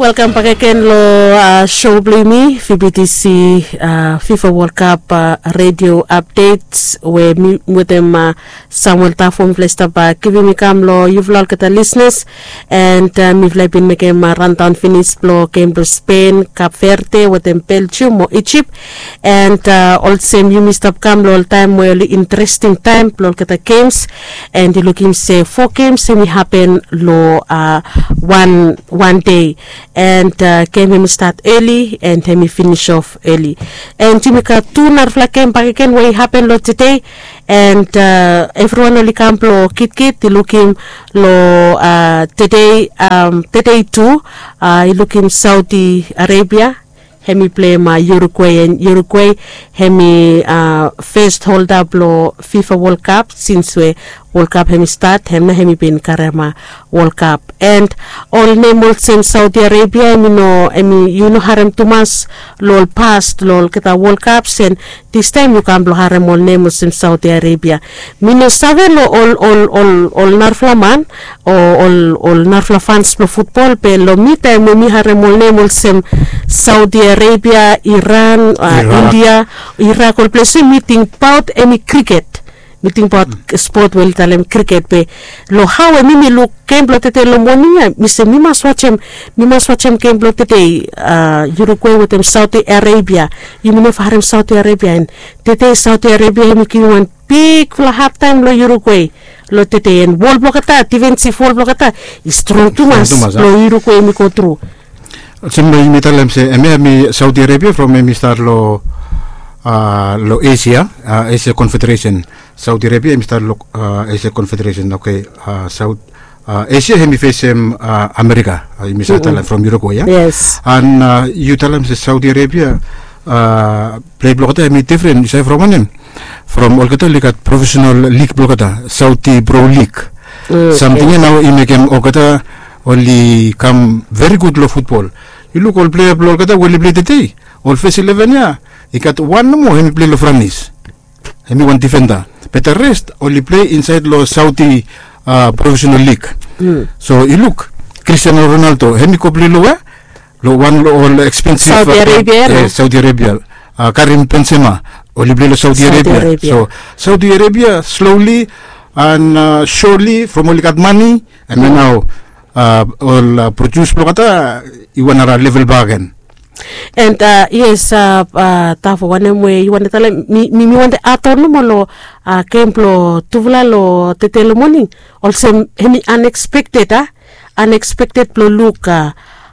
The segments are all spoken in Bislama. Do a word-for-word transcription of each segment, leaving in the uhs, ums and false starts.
Welkam bakegen long sho blong yumi, vbtc fifa world cup radio updates, we mi wetem samuel tafo mifala i stap givim i kam long yufala olgeta lisenas. And mifala i bin mekem randaon finis blong gem blong spen, kap verde wetem belgium o ijip. And olsem yumi stap kam long ol taem we oli interesting taem blong olgeta gems, and i lukim se fo gems hem i hapen long wan wan dei. And gem hem i stat eli and hem i finis of eli. And yumi gat tu narafala gem bakegen we i hapen long tedei. And evriwan oli kam blong kitkit i lukim long tedei tedei tu, i lukim saudi arabia, hem i pleim uruguay and uruguay hem i fes holda blong fifa world cup sins we world cup hem i stat hem na hem i bin karem world cup. And ol nem olsem saudi arabia hem i no hem i yu no harem tumas long ol past long olgeta world cups. And distaem yu kam blong harem ol nem olsem saudi arabia. Mi no save long ol ol ol ol narafala man o ol ol narafala fans blong futbol be long mi taem we mi harem ol nem olsem saudi arabia, iran, india, irak, ol ples we mi tingbaot hem i kriket. Mi tingbaot spot we oli talem kriket be long hao we mi mi luk gem blong tede long moning ya mi se mi mas wajem mi mas wajem gem blong tede. Uruguay wetem saudi arabia. Yumi neva harem saudi arabia and tede saudi arabia hem i givim wan bigfala hadtaem long uruguay. Long tede and wol blong olgeta difensif wol blong olgeta i strong tumas long uruguay hem i go tru. Olsem long yumi talem se hemia hem i saudi arabia from hem i stat long long asia, asia confederation. Saudi arabia hem i stat long asia confederation. Oke. Saud asia hem i fesem amerika. Yumi save talem from uruguay ya. An yu talem se saudi arabia plei blong olgeta hem i difren yu save from wanem? From olgeta oli gat profesenal lig blong olgeta, saudi pro lig. Samting ya nao i mekem olgeta oli kam veri gud long futbol. Yu luk ol plea blong olgeta we oli plei tede, ol fes eleven ya i gat wan nomo hem i plei long franis. Hem i wan difenda. Be da rest oli plei insaed long saudi profesenal lig. So yu luk, kristiano ronaldo hem i go plei long wea? Long wan long ol ekspensif saudi arabia, karim benzema, oli plei long saudi arabia. So saudi arabia slowli an soli from oli gat mani, em ya nao ol produs blong olgeta i wan nara level bak gen. And yes, tafo wanem we yu wante talem, mi mi wante aton nomo long gem blong tufala long tete long moning, olsem hem i anekspekted a, anekspekted blong luk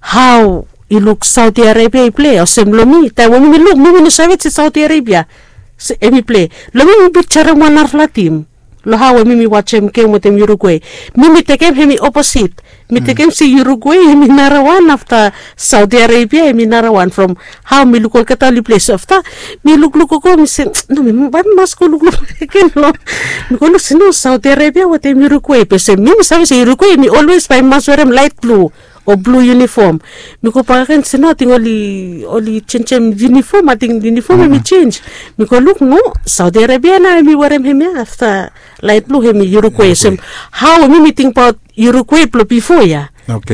hao i luk saudi arabia i plei olsem long mi taem we mi mi luk mi mi no save se saudi arabia hem i plei. Long mi mi pikjarem wan narafala tim long hao we mi mi wajem gem wetem uruguay. Mi mi tekem hem i oposit. Mi tekem se uruguay hem i narawan afta saudi arabia hem i narawan from hao mi luk olgeta oli plei so afta mi lukluk gogo mi se no mi bae mi mas go lukluk bakegen long mi go luk se no saudi arabia wetem uruguay be se mi mi save se uruguay hem i olwes bae mi mas werem laet blu o blu yunifom. Mi go bakagen se no ating oli oli jenjem yunifom ating yunifom hem i jenj. Mi go luk no, saudi arabia nao hem i werem hemia afta laet blu hem i uruguay olsem hao we mi mi tingbaot uruguay blong bifo ya.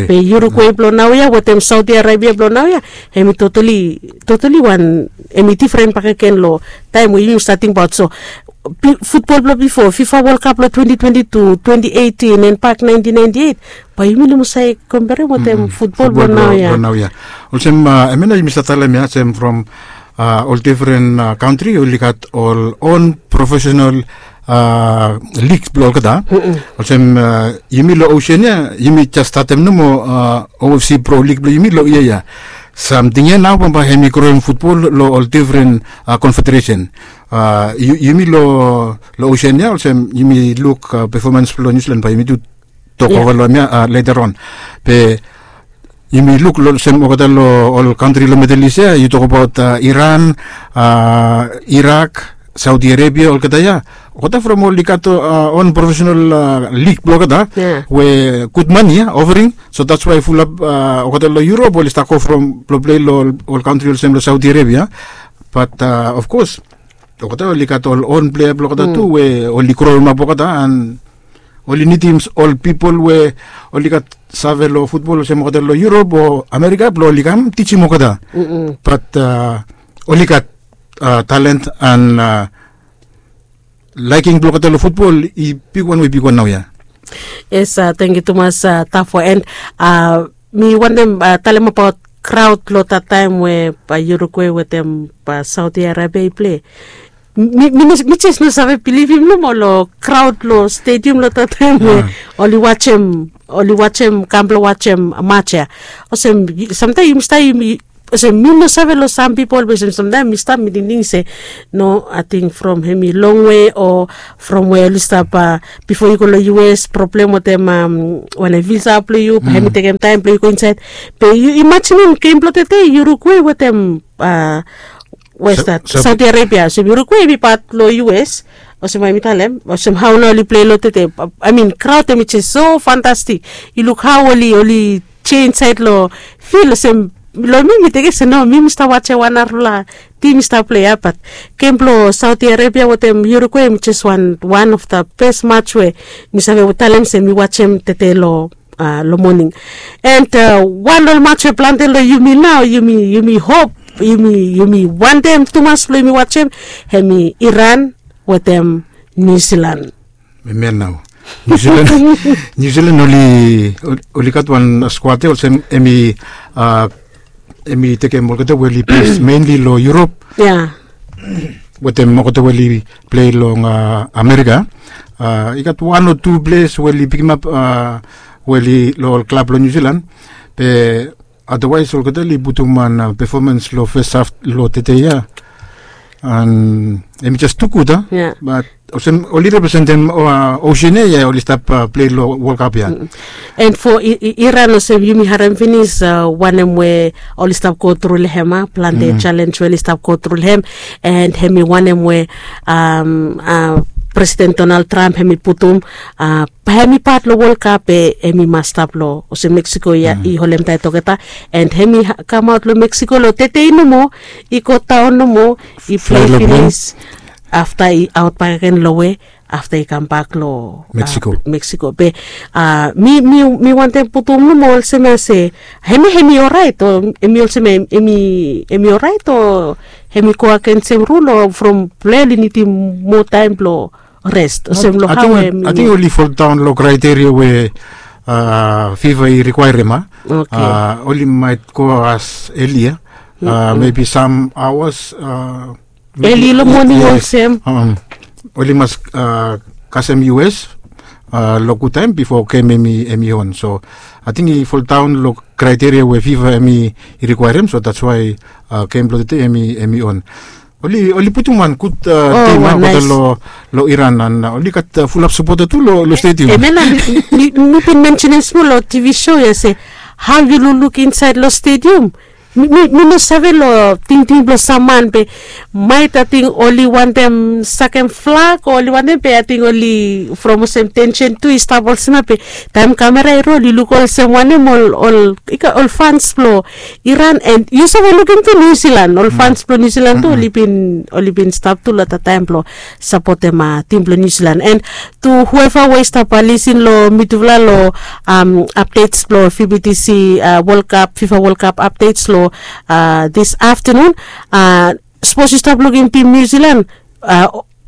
Be uruguay blong naoia wetem saudi arabia blong naoia hem i totali totali wan hem i difren bakegen long taem we yumi stat tingbaot so futbol blong bifo fifa wol kap long twenty twenty two twenty eighteen and bak nineteen ninety eight. Bae yumi no mas save komperem wetem futbol blong naoia. Olsem hemia nao yumi save talem ya olsem from ol difren kantri oli gat ol on profesenal lig blong olgeta. Olsem yumi long osen ya yumi jes statem nomo ofc pro lig blong yumi long yia ya. Samting ya nao bambae hem i groem futbol long ol difren konfederesen. Yumi long osen ya olsem yumi luk pefomans blong niusilan bae yumi tu tokova long hemia later on. Be yumi luk olsem olgeta long ol kantri long middle east ya yu tokabaot iran, irak, saudi arabia olgeta ya. Olgeta from oli gat on profesenal lig blong olgeta we gud mani ya ofering. So dats wae fulap olgeta long europe oli stap go from blong plei long ol kantri olsem long saudi arabia. Bat ofkos olgeta oli gat ol on plea blong olgeta tu we oli growemap olgeta an Oli nidim ol pipol we oli gat save long futbol olsem olgeta long Yurop o Amerika blong oli kam tijim olgeta. Bat oli gat talent an laiking blong olgeta long futbol i bigwan we bigwan nau ya. Yes, tangkiu tumas, Tafo. And mi wantem talemabaot kraod long dat taem we Uruguay wetem Saudi Arabia i plei. Mi jes no save bilivim nomo long kraod long stediam long dat taem we oli wajem, oli wajem, kam blong wajem mats ya. Olsem samtaem yumi stap, yumi olsem mi no save long sam pipol be olsem samtaem mi stap mi tingting se no, ating from hemi longwe o from we oli stap, bifo yu go long U S, problem wetem wanem, visa blong yu, hemi tekem taem blong yu go insaed. Be yu imajinim gem blong tede Uruguay wetem, we stap Saudi Arabia, olsem Uruguay hemi pat long U S. Olsem bae mi talem olsem hao nao oli plei long tede. Amin kraod hemi jes so fantastik. Yu luk hao oli, oli jei insaed long fil olsem, long mi mi tekem se no, mi mi stap wajem wan narafala tim i stap plei ya. Bat gem blong Saudi Arabia wetem Uruguay hemi jes wan, wan of da bes mats we mi save talem se mi wajem tede long, long moning. And wan long mats we plante long yumi nao, yumi, yumi hop, yumi, yumi wantem tumas blong yumi wajem, hemi Iran wetem Niu Silan. Hemia nao Niu Silan, Niu Silan oli, oli gat wan skuad ya olsem hemi, hemi tekem olgeta we oli bes menli long Yurop. Ya. Wetem olgeta we oli plei long Amerika. I gat wan o tu ples we oli pikimap we oli long ol klab long Niu Silan. Be adawaes olgeta oli putum wan pefomans long fes haf long tede ya. An hemi jes tu gud a. Bat olsem oli representem Oseania ya oli stap plei long Wol Kap ya. And fo Iran olsem yumi harem finis wanem we oli stap go tru long hem a, plante jalenj we oli stap go tru long hem. And hemi wanem we Presiden Donald Trump hemi putum, bae hemi pat long Wol Kap be hemi mas stap long, olsem Meksiko ya i holem taet olgeta. And hemi kamaot long Meksiko long tede nomo, i go daon nomo, i plei finis, afta i aot bakegen long we, afta i kambak long Meksiko. Be mi, mi wantem putum nomo olsem ya se hemi, hemi oraet o hemi olsem hemi, hemi oraet o hemi go agensem rul o from plei oli nidim moa taem blong rest olsem long hao hemi. Ating oli foldaon long kraeteria we fifa i rikwaerem a. Oli maet go as eli ya, mebi sam aoas eli long moning olsem. Oli mas kasem U S long gud taem bifo gem hemi, hemi on. So ating i foldaon long kraeteria we fifa hemi i rikwaerem, so dats wae gem blong tede hemi, hemi on. Oli, oli putum wan gud tim a olgeta long Iran an oli gat fulap sapota tu long stediam. Hemia nao mi, mi bin mensenem smol long TV show ya se hao yu lukluk insaed long stediam. Mi, mi no save long tingting blong sam man be maet ating oli wantem sakem flag o oli wantem be ating oli from olsem tensen tu i stap olsem ya be taem kamera i rol i luk olsem wanem ol, ol, i gat ol fans blong Iran, and yu save lukim tu Niu Silan, ol fans blong Niu Silan tu oli bin, oli bin stap tu long dat taem blong sapotem tim blong Niu Silan. And tu hueva we i stap lisin long mitufala long apdets blong VBTC Wol Kap, fifa Wol Kap apdets long dis aftenun. Sapos yu stap lukim tim Niu Silan,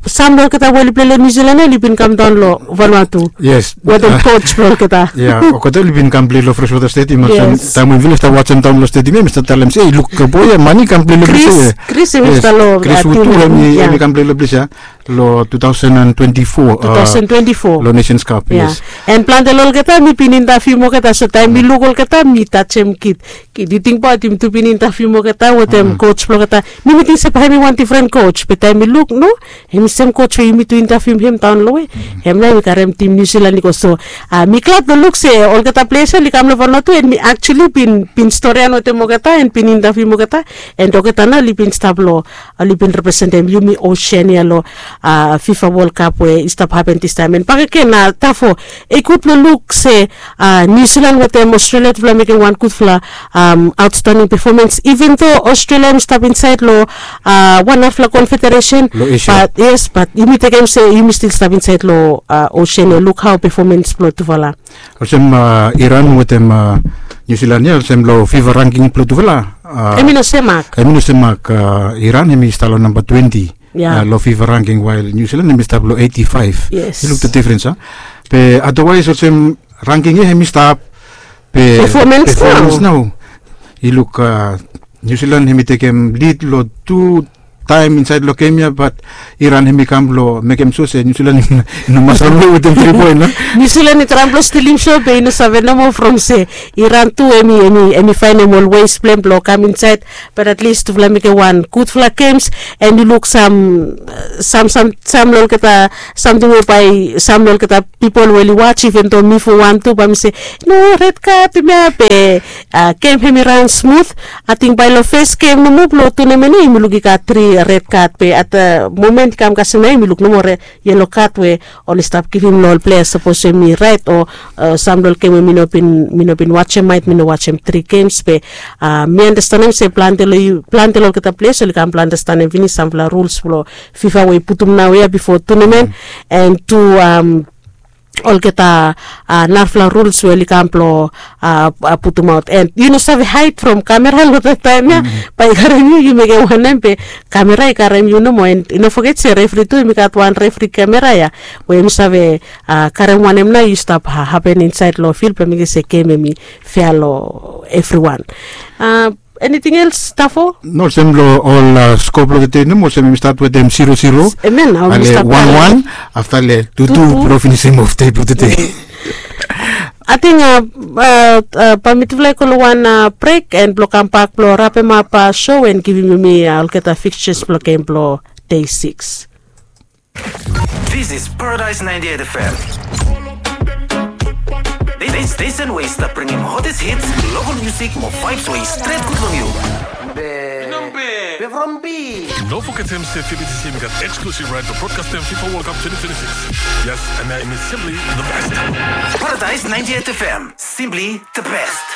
sam long olgeta we oli plei long Niu Silan ya oli bin kamdaon long Vanuatu. Yes. Wetem koj blong olgeta. Ya, olgeta oli bin kam plei long Freshwater Stadium. Taem we mifala i stap wajem daon long stadium ya mi stap talem se, ei, luk, boe ya man i kam plei long ples ya. Kris, Kris hemi stap long, Kris Wood tu hemi kam plei long ples ya long two thousand and twenty-four. Two thousand twenty-four long Nations Cup. Yes. And plante long olgeta mi bin intavium olgeta, so taem mi luk olgeta mi tajem kid. Kid, yu tingbaot yumi tu bin intavium olgeta wetem koj blong olgeta. Mi mi ting se bae hemi wan difren koj be taem mi luk no, hemi sem koj we yumi tu intavium hem daon long we. Hem nao yumi karem tim Niu Silan i go. So mi glad blong luk se olgeta pleas ya oli kam long Vanuatu and mi aktuali bin, bin storian wetem olgeta and bin intavium olgeta. And olgeta nao oli bin stap long, oli bin representem yumi Oseania long uh, fifa world cup we i stap hapen distaem and bakegen uh, tafo, i gud blong luk se uh, new zealand wetem australia tufala mekem wan gudfala um, outstanding performance even though australia mi stap insaed long uh, wan hafla confederation. But yes but yumi tekem se yumi stil stap insaed long uh, ocean e luk hao performance blong tufala. Olsem uh, iran wetem uh, new zealand ya olsem long fifa ranking blong tufala uh, em i no semak. Em i no semak uh, iran em i stap long namba twenti. Long fifa ranking wael new zealand em i stap long eighty five. Yes. Yu luk the difference a. Be otherwise olsem ranking ya em i stap be performance nao. Yu luk uh, new zealand em i tekem lid long tu taem insaed long gem ya bat iran em i kam blong mekem sua se new zealand i no mas ran long wetem tri poen a. New zealand i traem blong stilim sua be i no save nomo from se iran tu em i faenem ol wes blong em blong kam insaed. Bat at list tufala mekem wan gudfala gems and yu luk sam sam sam sam long olgeta samting we bae sam long olgeta pipol we oli waj even do mi fo wan tu bae mi se no red kad em ya be gem hem i ran smut. Ating bae long fes gem nomo blong tunemen ya yumi luk i gat tri red kad be at momen i kam kasem nao yumi luk nomo yelo kad we oli stap givim long ol plea sapos em i raet o sam long ol gem we mi no bin wajem maet mi no wajem tri gems be mi anastenem se plante long olgeta ples oli kam blong anastenem finis samfala ruls blong fifa we i putum nao ya bifo tunemen and tu olgeta narafala ruls we oli kam blong putumaot and yu no save haed from kamera long that taem ya. Bae i karem yu yu mekem wanem be kamera i karem yu nomo and i no foget se refri tu em i gat wan refri kamera ya we em i save karem wanem nao yu stap hapen insaed long fil blong mekem se gem em i fea long evriwan. Eniting els tafo? No olsem long ol skop blong tede nomo olsem em i stat wetem zero zero. Em ya nao em i stat wan wan afta le tutu blong finisim of dei blong tede. Ating bae mitufala i go long wan brek and blong kambak blong rapemap show and givim yumi olgeta fixtures blong gem blong dei siks. This is Paradise ninety-eight F M. This station we stap bringim hottest hits, local music mo vibes we i stret gud long yu. Be from B. No forget him say F B T C got exclusive right to broadcast them FIFA World Cup twenty twenty-six. Yes, and I am simply the best. Paradise ninety-eight F M, simply the best.